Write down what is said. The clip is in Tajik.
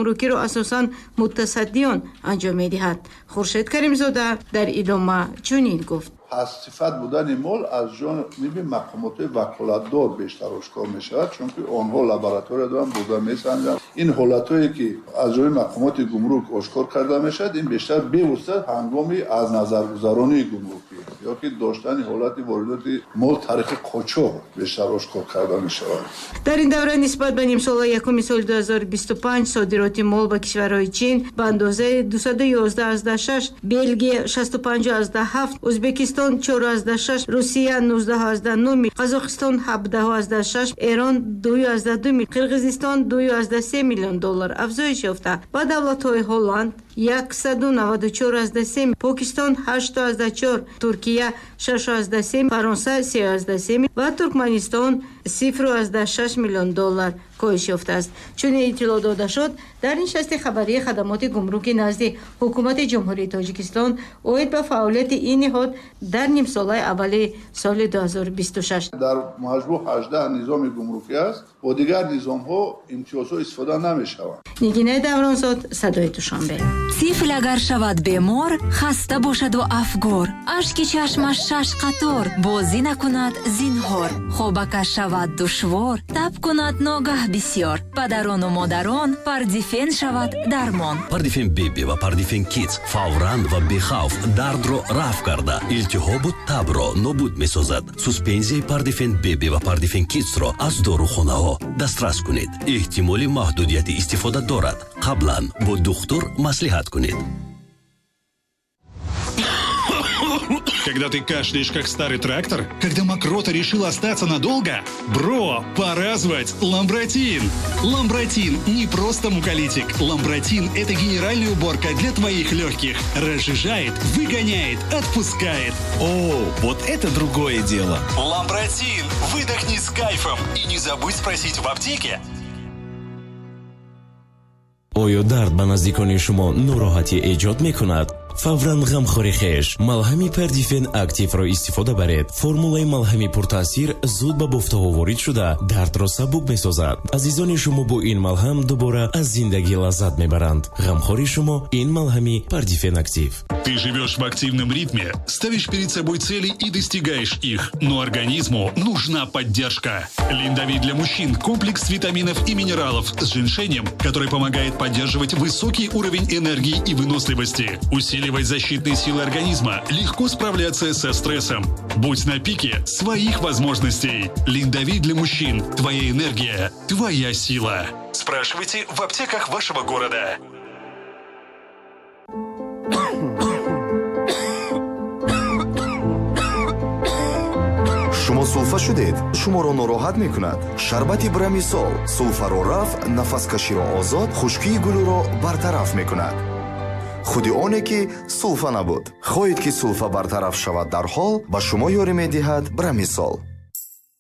гумрукиро асосан мутасаддиён анҷом медиҳад. Хуршед Каримзода дар идома чунин гуфт: Пастсифат будани мол аз ҷониби мақомоти ваколатдор бештар ошкор мешавад, чунки онҳо лаборатория доранд, бурда месанҷанд. Ин ҳолатҳое ки аз ҷониби мақомоти гумрук ошкор карда мешавад, ин бештар бевосита ҳангоми аз назаргузаронии гумрукӣ ё ки доштани ҳолати воридоти мол тариқи қочоқ бештар ошкор карда мешавад. Дар ин давра нисбат ба нимсолаи якуми соли 2025 содироти мол ба кишварҳои Чин ба андозаи 211,6, Белгия 65,7, Ӯзбекистон 4,6, Русия 19,9, Қазоқистон 17,6, Эрон 2,2, Қирғизистон 2,3 миллион доллар афзоиш ёфта, ба давлатҳои Ҳолланд 194,3, Покистон 8,4, Туркия 6,3, Фаронса 3,3 ва Туркманистон 0,6 миллион доллар коҳиш ёфтааст. Чунин иттилоъ дода шуд дар нишасти хабарии хадамоти гумруки назди Ҳукумати Ҷумҳурии Тоҷикистон оид ба фаъолияти ин ниҳод дар нимсолаи аввали соли 2026. Дар маҷмӯъ 18 низоми гумрукӣ аст, бо дигар низомҳо имтиёзҳо истифода намешаванд. Нигинаи Давронзод, Садои Душанбе. Тифл агар шавад бемор, хаста бошаду афгор, ашки чашмаш шаш қатор, бозӣ накунад зинҳор, хобакаш шавад душвор, таб кунад ногаҳ бисёр, падарону модарон Пардифен шавад дармон. Пардифен Беби ва Пардифен Кидс фавран ва бехавф дардро рафъ карда, илтиҳобу табро нобуд месозад. Суспензияи Пардифен Беби ва Пардифен Кидсро аз дорухонаҳо дастрас кунед. Эҳтимоли маҳдудияти истифода дорад. Қаблан бо духтур маслиҳат кунед. Когда ты кашляешь, как старый трактор? Когда мокрота решила остаться надолго? Бро, пора звать Ламбратин! Ламбратин не просто муколитик. Ламбратин – это генеральная уборка для твоих легких. Разжижает, выгоняет, отпускает. О, вот это другое дело! Ламбратин! Выдохни с кайфом и не забудь спросить в аптеке. Оё дард ба наздикони шумо нороҳатӣ эҷод мекунад? Фавран ғамхори хеш малҳами Пардифен Активро истифода баред. Формулаи малҳами пуртаъсир зуд ба бофтаҳо ворид шуда, дардро сабук месозад. Азизони шумо бо ин малҳам дубора аз зиндагӣ лаззат мебаранд. Ғамхори шумо ин малҳами Пардифен Актив. Ты живешь в активном ритме, ставишь перед собой цели и достигаешь их, но организму нужна поддержка. Линдовит для мужчин – комплекс витаминов и минералов с женьшенем, который помогает поддерживать высокий уровень энергии и выносливости, усиливать защитные силы организма, легко справляться со стрессом. Будь на пике своих возможностей. Линдовит для мужчин. Твоя энергия, твоя сила. Спрашивайте в аптеках вашего города. Шумо сулфа шудед, шуморо нороҳат мекунад. Шарбати Брамисол сулфаро рафъ, нафаскаширо озод, хушкии гулӯро бартараф мекунад. Худи оне ки сулфа набуд. Хоҳед ки сулфа бартараф шавад дарҳол, ба шумо ёрӣ медиҳад Брамисол.